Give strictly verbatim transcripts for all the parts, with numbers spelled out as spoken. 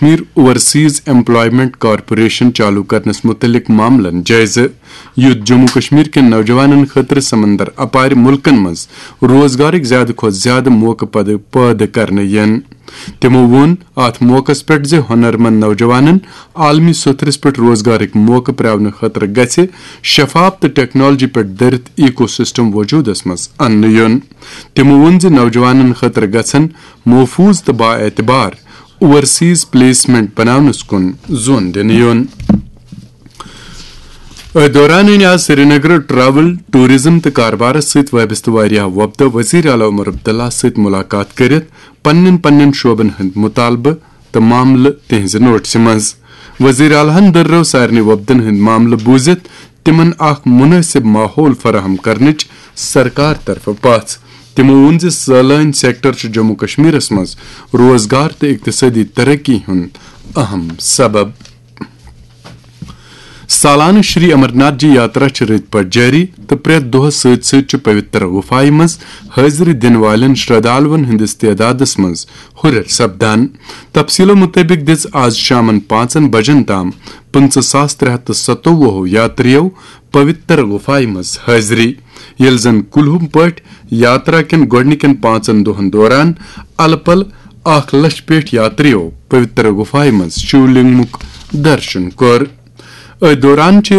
Kashmir overseas employment corporation چالو کرنس متعلق معاملن جائزٕ، یُتھ جموں کشمیر کٮ۪ن نوجوانن خٲطرٕ سمندر اپارِ مُلکن منٛز روزگارٕکۍ زیادٕ کھۄتہٕ زیادٕ موقعہٕ پد-، پٲدٕ کرنہٕ یِن۔ تِمو ووٚن اتھ موقعس پٮ۪ٹھ زِ ہُنر مند نوجوانن عالمی سطحس پٮ۪ٹھ روزگارٕکۍ موقعہٕ پرٛاونہٕ خٲطرٕ گژھِ شفاف تہٕ ٹیکنالوجی پٮ۪ٹھ دٔرِتھ ایکو سسٹم وجودس منٛز اننہٕ یُن۔ تِمو ووٚن زِ نوجوانن خٲطرٕ گژھن محفوظ تہٕ بااعتبار اوورسیز پلیسمنٹ بناونس کُن زون دِنہٕ یُن۔ أتھۍ دوران أنۍ آز سرینگر ٹریول، ٹورازم تہٕ کاربارس سۭتۍ وابستہٕ واریاہ وۄپدٕ وزیر اعلیٰ عمر عبداللہ سۭتۍ ملاقات کٔرِتھ پننٮ۪ن پننٮ۪ن شعبن ہٕنٛدۍ مطالبہٕ تہٕ معاملہٕ تِہنٛزِ نوٹسہِ منٛز۔ وزیر اعلیٰ ہن دٔررٲو سارنٕے وۄپدن ہٕنٛدۍ معاملہٕ بوٗزِتھ تِمن اکھ مُنٲسِب ماحول فراہم کرنٕچ سرکار طرفہٕ پژھ۔ تِمو ووٚن زِ سٲلٲنۍ سیکٹر چھُ جموں کشمیرس منٛز روزگار تہٕ اقتصٲدی ترقی ہُنٛد اہم سبب۔ سالانہٕ شری امرناتھ جی یاترا چھِ رٕتۍ پٲٹھۍ جٲری تہٕ پرٛٮ۪تھ دۄہَس سۭتۍ سۭتۍ چھُ پویتر غفایہِ منٛز حٲضری دِنہٕ والٮ۪ن شردھالوَن ہٕنٛدِس تعدادَس منٛز ہُرٮ۪ر سپدان۔ تفصیٖلو مُطٲبِق دِژ آز شامَن پانٛژَن بجن تام پٕنٛژٕہ ساس ترٛےٚ ہَتھ تہٕ ستووُہ یاترِیو پویتر غفایہِ منٛز حٲضری، ییٚلہِ زَن کُلہُم پٲٹھۍ یاترا کٮ۪ن گۄڈٕنِکٮ۪ن پانٛژَن دۄہَن دوران الہٕ پلہٕ اکھ لچھ پیٹھ یاترِیو پویتر غفایہِ منٛز شیو لنگمُک درشن کوٚر۔ أتھۍ دوران چھِ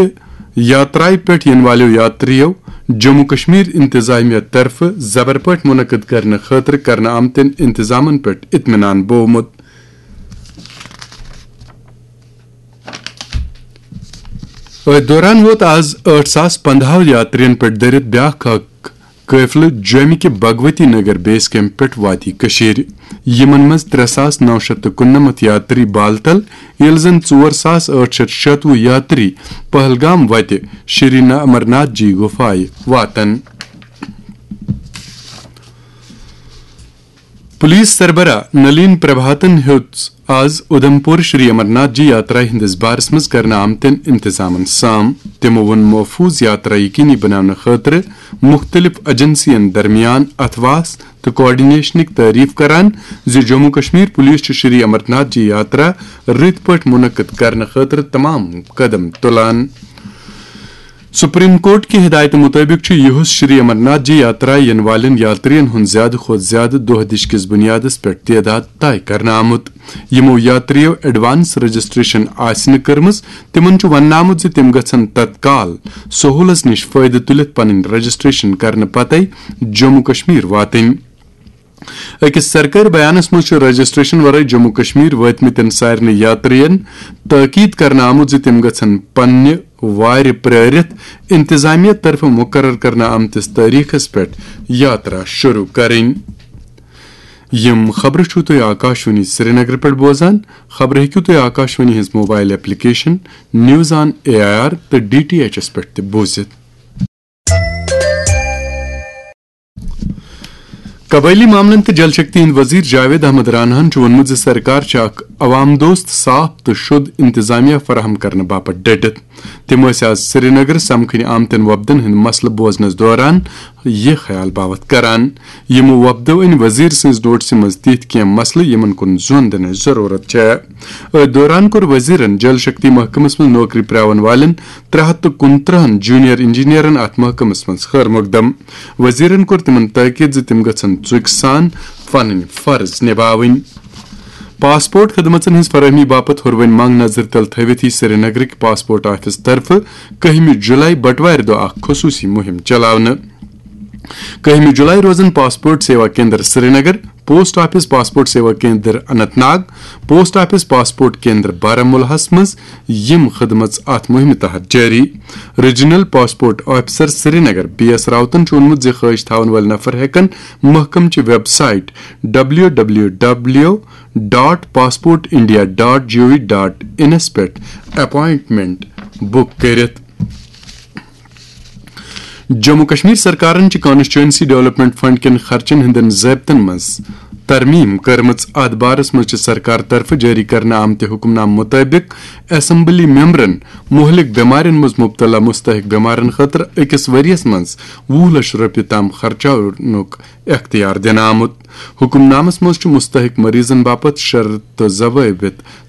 یاترایہِ پٮ۪ٹھ یِنہٕ والٮ۪و یاترِیو جموں کشمیر انتظامیہ طرفہٕ زبر پٲٹھۍ منعقد کرنہٕ خٲطرٕ کرنہٕ آمتٮ۪ن انتظامن پٮ۪ٹھ اطمینان بوومُت۔ أتھۍ دوران ووت آز ٲٹھ ساس پندہو یاترین پٮ۪ٹھ دٔرِتھ بیاکھ اکھ قٲفلہٕ جوٚمہِ کہِ بھگوتی نگر بیس کیمپ پٮ۪ٹھ وادی کٔشیٖرِ۔ یِمن منٛز ترٛےٚ ساس نو شیٚتھ تہٕ کُننَمَتھ یاتری بالتل، ییٚلہِ زن ژور ساس ٲٹھ شیٚتھ شیٚتوُہ یاتری پہلگام وتہِ شری امرناتھ جی گُفایہِ واتن۔ پولیس سربراہ نلین پربھاتن ہیوٚت آز اُدھمپور شری امرناتھ جی یاترا ہٕنٛدِس بارس منٛز کرنہٕ آمتٮ۪ن انتظامن سام۔ تِمو ووٚن محفوٗظ یاترا یقینی بناونہٕ خٲطرٕ مُختٔلِف ایجنسین درمیان اتھواس تہٕ کوآرڈینیشنٕکۍ تعریف کران زِ جموں کشمیر پولیس چھُ شری امرناتھ جی یاترا رٕتۍ پٲٹھۍ منعقد کرنہٕ خٲطرٕ تمام قدم تُلان۔ سپریم کورٹ کہِ ہدایتہٕ مُطٲبِق چھُ یُہُس شری امرناتھ جی یاترا یِنہٕ والٮ۪ن یاترین ہُنٛد زیادٕ کھۄتہٕ زیادٕ دۄہ دِش کِس بُنیادس پٮ۪ٹھ تعداد طے کرنہٕ آمُت۔ یِمو یاترِیو ایڈوانس رجسٹریشن آسہِ نہٕ کٔرمٕژ، تِمن چھُ وننہٕ آمُت زِ تِم گژھن تتکال سہولس نِش فٲیدٕ تُلِتھ پنٕنۍ رجسٹریشن کرنہٕ پتے جموں کشمیر واتٕنۍ۔ أکِس سرکٲرۍ بیانس منٛز چھُ رجسٹریشن ورٲے جموں کشمیر وٲتمٕتٮ۪ن سارنٕے یاترین تٲکید کرنہٕ آمُت زِ تِم گژھن پننہِ وارِ پرٲرِتھ انتظامیہ طرفہٕ مقرر کرنہٕ آمتِس تٲریخس پٮ۪ٹھ یاترا شروع کرٕنۍ۔ یِم خبرٕ چھِو تُہۍ آکاشوانی سرینگر پٮ۪ٹھ بوزان۔ خبرٕ ہیٚکِو تُہۍ آکاشوانی ہٕنٛز mobile application news on A I R تہٕ ڈی ٹی ایچ ایس پٮ۪ٹھ تہِ بوٗزِتھ۔ قبٲئلی معاملن تہٕ جل شکتی ہٕنٛدۍ وزیر جاوید احمد راناہن چھُ ووٚنمُت زِ سرکار چھِ اکھ عوام دوست، صاف تہٕ شُد انتظامیہ فراہم کرنہٕ باپتھ ڈٔٹِتھ۔ تِم ٲسۍ آز سرینگر سمکھٕنۍ آمتٮ۪ن وۄپدن ہٕنٛدۍ مسلہٕ بوزنس دوران یہِ خیال باوتھ کران۔ یِمو وۄپدو أنۍ وزیر سٕنٛز نوٹسہِ منٛز تِتھۍ کینٛہہ مسلہٕ یِمن کُن زون دِنٕچ ضروٗرت چھےٚ۔ أتھۍ دوران کوٚر وزیرن جل شکتی محکمس منٛز نوکری پرٛاوَن والٮ۪ن ترٛےٚ ہَتھ تہٕ کُنترٕہن جونیئر انجینئرن اتھ محکمس منٛز خٲر مقدم۔ وزیرن کوٚر تِمن تٲکید زِ تِم گژھن ژُکۍ سان پنٕنۍ فرض نباوٕنۍ۔ پاسپورٹ خدمژن ہٕنٛز فراہمی باپتھ ہُروٕنۍ منگ نظر تل تھٲوِتھ یی سرینگرٕکۍ پاسپورٹ آفس طرفہٕ کٔہمہِ جولائی بٹوارِ دۄہ اکھ خصوٗصی مُہِم چلاونہٕ۔ کٔہمہِ جولائی روزن passport Seva Kendra Srinagar, post office passport Seva Kendra Anantnag, post office passport Kendra بارہمولہس منٛز یِم خدمژ اتھ مُہِمہِ تحت جٲری۔ Regional passport officer Srinagar B S راوتن چھُ ووٚنمُت زِ خٲہِش تھاون وٲلۍ نفر ہٮ۪کن محکمہٕ چہِ website W W W dot passport India dot G O V dot انس پٮ۪ٹھ اپائنٹمنٹ بُک کٔرِتھ۔ جموں کشمیر سرکارن چھِ کانسٹیچوئنسی ڈیولپمنٹ فنڈ کٮ۪ن خرچن ہٕنٛدٮ۪ن ضٲبطن منٛز ترمیم کٔرمٕژ۔ اتھ بارس منٛز چھِ سرکار طرفہٕ جٲری کرنہٕ آمتہِ حکم نامہٕ مُطٲبِق اسمبلی ممبرن مہلک بٮ۪مارٮ۪ن منٛز مبتلا مستحق بٮ۪مارن خٲطرٕ أکِس ؤرۍ یَس منٛز وُہ لچھ رۄپیہِ تام خرچاونُک اختیار دِنہٕ آمُت۔ حکم نامس منٛز چھُ مستحق مریضن باپتھ شرط تہٕ ضوابط